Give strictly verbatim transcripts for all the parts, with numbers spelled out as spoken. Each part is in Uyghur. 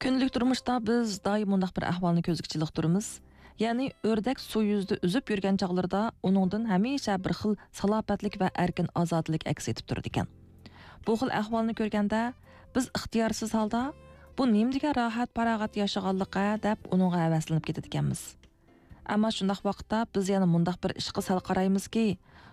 كۈندىلىك تۇرمۇشتا بىز دائىم مۇنداق بىر ئەھۋالنى كۆزگە چېلىقتۇرىمىز. يەنى ئۆردەك سۇ يۈزىدە ئۈزۈپ يۈرگەن چاغلىرىدا ئۇنىڭدىن ھەمىشە بىر خىل سالاپەتلىك ۋە ئەركىن ئازادىلىك ئەكس ئېتىپ تۇرىدىكەن. بۇ خىل ئەھۋالنى كۆرگەندە، بىز ئىختىيارسىز ھالدا، «بۇ نېمىدېگەن راھەت-پاراغەت ياشىغانلىق-ھە» دەپ ئۇنىڭغا ھەۋەسلىنىپ كېتىدىكەنمىز. ئەمما شۇنداق ۋاقىتتا بىز يەنە مۇنداق بىر ئىشقا سەل قارايمىزكى،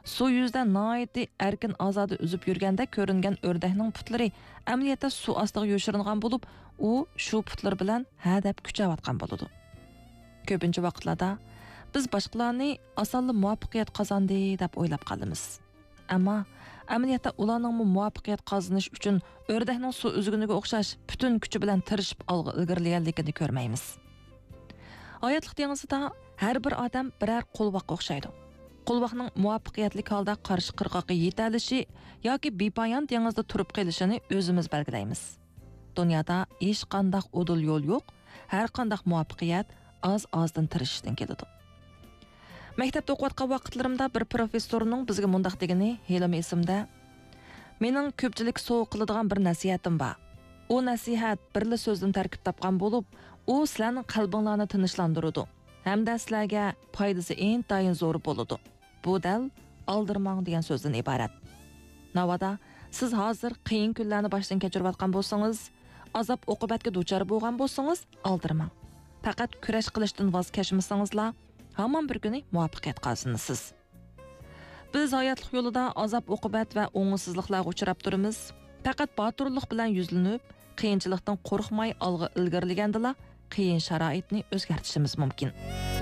سۇ يۈزىدە ناھايىتى ئەركىن-ئازادە ئۈزۈپ يۈرگەندەك كۆرۈنگەن ئۆردەكنىڭ پۇتلىرى ئەمەلىيەتتە سۇ ئاستىغا يوشۇرۇنغان بولۇپ، ئۇ شۇ پۇتلىرى بىلەن ھە دەپ كۈچەۋاتقان بولىدۇ. كۆپىنچە ۋاقىتلاردا بىز باشقىلارنى ئاسانلا مۇۋەپپەقىيەت قازاندى دەپ ئويلاپ قالىمىز. ئەمما ئەمەلىيەتتە ئۇلارنىڭمۇ مۇۋەپپەقىيەت قازىنىش ئۈچۈن ئۆردەكنىڭ سۇ ئۈزگىنىگە ئوخشاش پۈتۈن كۈچى بىلەن تىرىشىپ ئالغا ئىلگىرىلىگەنلىكىنى كۆرمەيمىز. ھاياتلىق دېڭىزىدا ھەر بىر ئادەم بىرەر قولۋاققا ئوخشايدۇ. قولۋاقنىڭ مۇۋەپپەقىيەتلىك ھالدا قارشى قىرغاققا يېتەلىشى ياكى بىپايان دېڭىزدا تۇرۇپ قېلىشىنى ئۆزىمىز بەلگىلەيمىز. دۇنيادا ھېچقانداق ئۇدۇل يول يوق، ھەرقانداق مۇۋەپپەقىيەت ئاز-ئازدىن تىرىشىشتىن كېلىدۇ. مەكتەپتە ئوقۇۋاتقان ۋاقىتلىرىمدا بىر پروفېسسورنىڭ بىزگە مۇنداق دېگىنى ھېلىمۇ ئېسىمدە، «مېنىڭ كۆپچىلىككە سوۋغا قىلىدىغان بىر نەسىھەتىم بار. ئۇ نەسىھەت بىرلا سۆزدىن تەركىب تاپقان بولۇپ، ئۇ سىلەرنىڭ قەلبىڭلارنى تىنچلاندۇرىدۇ ھەمدە سىلەرگە پايدىسى ئىنتايىن زور بولىدۇ. بۇ دەل ئالدىرىماڭ دېگەن سۆزدىن ئىبارەت. ناۋادا سىز ھازىر قىيىن كۈنلەرنى باشتىن كەچۈرۈۋاتقان بولسىڭىز، ئازاب-ئوقۇبەتكە دۇچار بولغان بولسىڭىز، ئالدىرىماڭ. پەقەت كۈرەش قىلىشتىن ۋاز كەچمىسىڭىزلا، ھامان بىر كۈنى مۇۋەپپەقىيەت قازىنىسىز.» بىز ھاياتلىق يولىدا ئازاب-ئوقۇبەت ۋە ئوڭۇشسىزلىقلارغا ئۇچراپ تۇرىمىز. پەقەت باتۇرلۇق بىلەن يۈزلىنىپ، قىيىنچىلىقتىن قورقماي ئالغا ئىلگىرىلىگەندىلا، قىيىن شارائىتنى ئۆزگەرتىشىمىز مۇمكىن.